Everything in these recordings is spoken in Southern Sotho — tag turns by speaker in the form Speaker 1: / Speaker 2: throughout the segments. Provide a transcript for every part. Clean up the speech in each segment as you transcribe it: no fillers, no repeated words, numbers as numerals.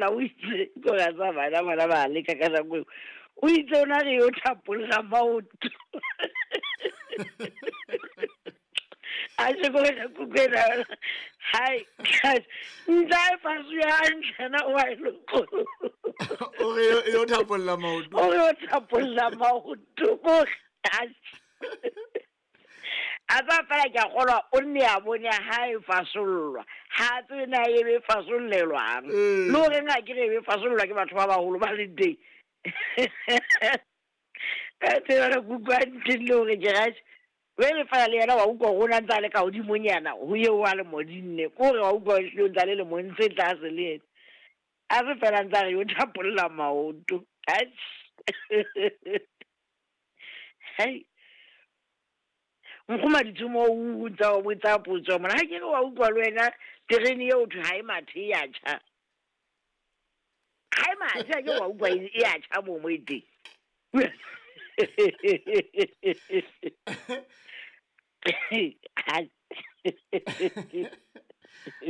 Speaker 1: thapolla o itse ko ga tsa bana bana ba leka ka nako eo. O itse o na re yo thapolla maoto. A se ko re kukwena. Hai. Ntsa e fasu ya ntlhana wa e loko.
Speaker 2: O re yo thapolla maoto.
Speaker 1: O re yo thapolla maoto. Ko a tsa fela ke a kgolwa o nne a bone ha e fasollwa ha tsebe na e be fasollelwang le goreng a ke re e be fasollwa ke batho ba bagolo ba leng teng ka tsebana kuku a nteng le gore ke gaše bjale fela le yena wa utlwa gore o na ntse a le ka godimonyana go eo a le modinne ko gore wa utlwa ehlile o ntse a le lemong tse tlase le ena a se fela ntse a re yo thapolla maoto. Hei nkgoma ditšhomo o ntsa o botsa potso mona ga ke re wa utlwa le wena terene eo thwe ga e mathe e ya tšha ga e mathe a ke wa utlwa e ya tšha mo mo e teng.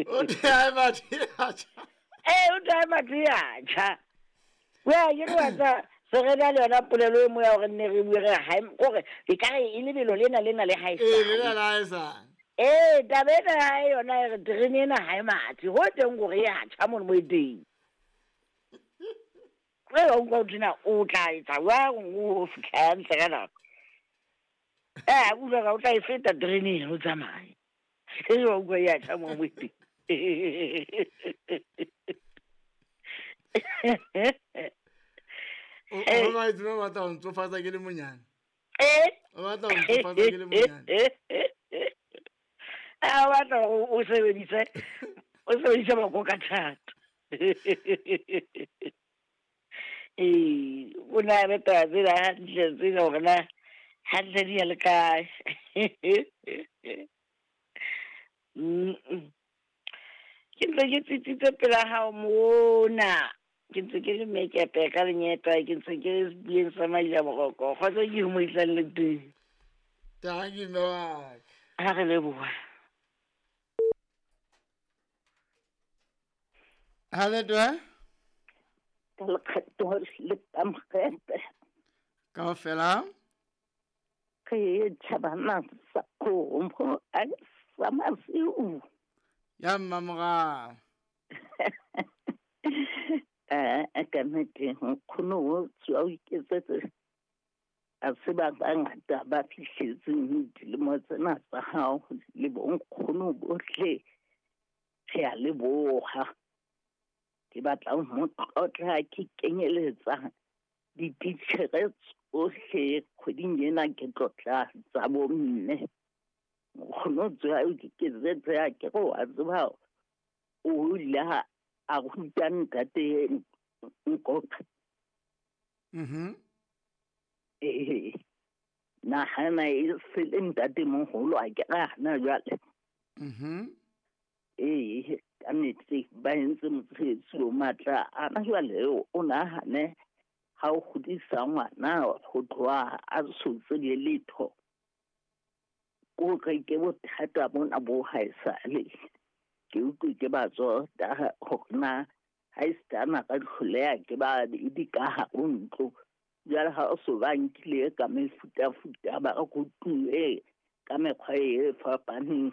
Speaker 2: O thwe ha e mathe e a tjha.
Speaker 1: Ee, o thwe ha e mathe e a tjha. Wa ke re wa tsa se re na le yona polelo e mo ya gore nne re bue re ha e kore e ka re e lebelo lena lena le ha e
Speaker 2: Ee, lena le ha e sale.
Speaker 1: Ee, taba ena ya hae yona e re terene ena ha e mathe ho teng gore e a tjha mono mo e teng. Ge wa utlwa ho thwe o tla etsa jwang o fitlha hantle ka nako. Eh, utlwa ka o tla e feta terene ena o tsamaye. Ge wa utlwa e a tjha mo mo e teng.
Speaker 2: O o batla o batla ho ntsofatsa ke le monyane.
Speaker 1: Eh?
Speaker 2: O batla ho ntsofatsa ke le monyane.
Speaker 1: A o batla hore o sebedise o sebedise boko ka thata. Ee, o nahane taba tsena hantle tsena hore na hantle di ya le kae. Ke ntse ke tsitsitse pela hao mona. Ke ntse ke le mekepe ka lenyeta, ke ntse ke le sebuyeng sa Maila-Moroko. Kgotso ke mo isang le teng.
Speaker 2: Tanki mme wa ka.
Speaker 1: Ha re leboha.
Speaker 2: Ha le twe?
Speaker 3: Ka lekgetho le kamogete.
Speaker 2: Kaofela.
Speaker 3: Re tšhabana sa kgomo a sa masiu.
Speaker 2: Ya mmamorao.
Speaker 3: Eh, ka nnete nkgono o tswa o iketsetse a se ba bangata ba fihletseng dilemo tsena tsa hao le bonkgono bohle re a leboha. Ke batla ho mo tlotla ke kenyeletsa dititjhere tsohle kgweding ena ke tlotla tsa bomme. Nkgono o tswa o iketsetse a ke re wa tseba o ile a ruta ntate Nkoka. Ee, nahana e se le ntate moholo a ke re hana jwale. Ee, ka nnete ba entse mosebetsi o matla. Ana jwale o nahane ha o kgodisa ngwana ho tloha a so tsebe letho. Ko re ke bothata bona bo haesale. Ke utlwe ke ba tsota hore na ha esitana ka hloleha ke ba di ka hare ho ntlo. Jwale ha o so ba nkile ka mefutafuta ba rutuwe ka mekgwa e fapaneng.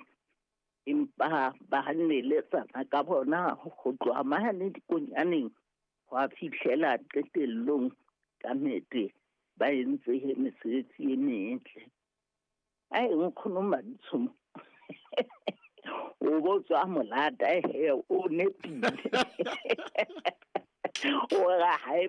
Speaker 3: Empa ba neletsana ka bona ho tloha mane dikonyaneng ho a fihlela qetellong ka nnete ba entse mesebetsi e metle. Ai nkgono Maditshomo o bo tswa molata he o nepile. O ra hae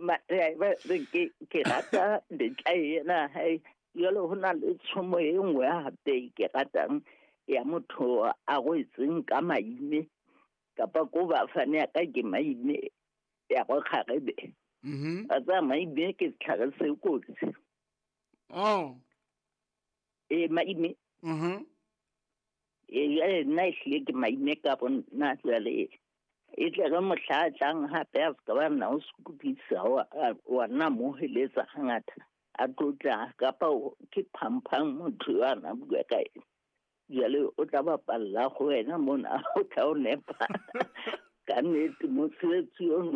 Speaker 3: ke rata letla ena hae jwale ho na le tshomo e nngwe hape ke ratang ya motho a rwetseng ka maime kapa ko ba fane ya ka ke maime ya go kgarebe. A tsa maime ke setlhare se kotsi.
Speaker 2: Oh.
Speaker 3: E maime. E jwale nna ehlile ke maime ka bo nna jwale e tle re mohla a tlang hape a se ka ba nna o sokodisa wa nna mo heletsa hangata a tlotla kapa ke phamphang motho yo a na bua ka ena. Jwale o tla bapalla go wena mona o tla o nepa. Ka nnete mosebetsi ono